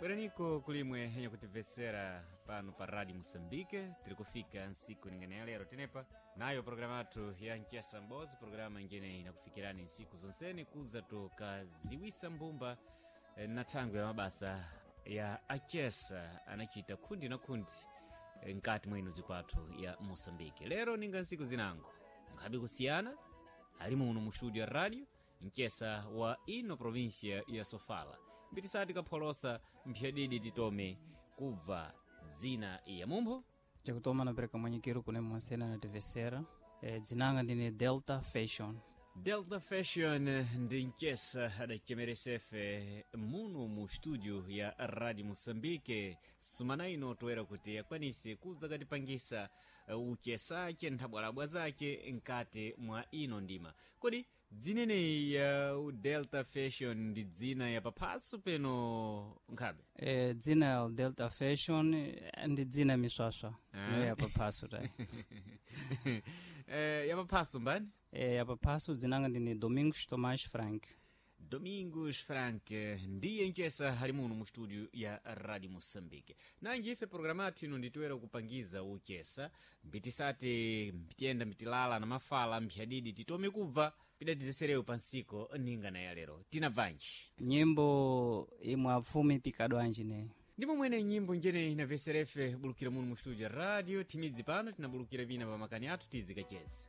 Bweraniko kulimwe henya kutimvesera pano pa Radio Moçambique. Tiri kufika nsiku ningene ya lero tenepa nayo programa yathu ya Nchesa Mbozi, programa ingene inakufikirani nsiku zonseni kuza tukaziwisa mbumba na thangwi ya mabasa ya achesa anachita khundi na khundi nkati mwa ino zikwathu ya Moçambique. Lero ninga nsiku zinango nkhabe kusiyana ali muno mu studio ya radio mchesa wa ino província ya Sofala, mbitisati kapholosa mphyadidi titome kubva dzina ya mumpho. Chakutoma napereka mwanyikiro kune monsena nativesera. Dzinanga ndine Delta Fashion. Delta Fashion ndi mchesa adachemeresefe muno mu studio ya Radio Moçambique sumana ino toera kuti akwanise kuza katipangisa uchesache nthabwalabwa zake nkati mwa ino ndima. Kodi dzineneyi ya Delta Fashion ndi dzina ya paphaso peno nkhabe? Dzina ya Delta Fashion ndi dzina miswaswa. Ah. No ya paphaso tayi. Ya paphaso mbani? Ya paphaso dzinanga ndine Domingos Tomás Frank. Domingos Frank ndiye mchesa ali muno mu studio ya Radio Moçambique. Nanji ife programa yathu ino nditoera kupangiza uchesa mbitisati mbitiyenda mbitilala na mafala mphyadidi titome kubva pidatizeserewo pansiko ninga na ya lero tinabvanji. Nyimbo imwe apfumi pikadwanji ne. Ndimo mwene nyimbo njene inaveserefe bulukira muno mu studio ya radio timidzi pano tinabulukira vina pa makani athu tizikacheza.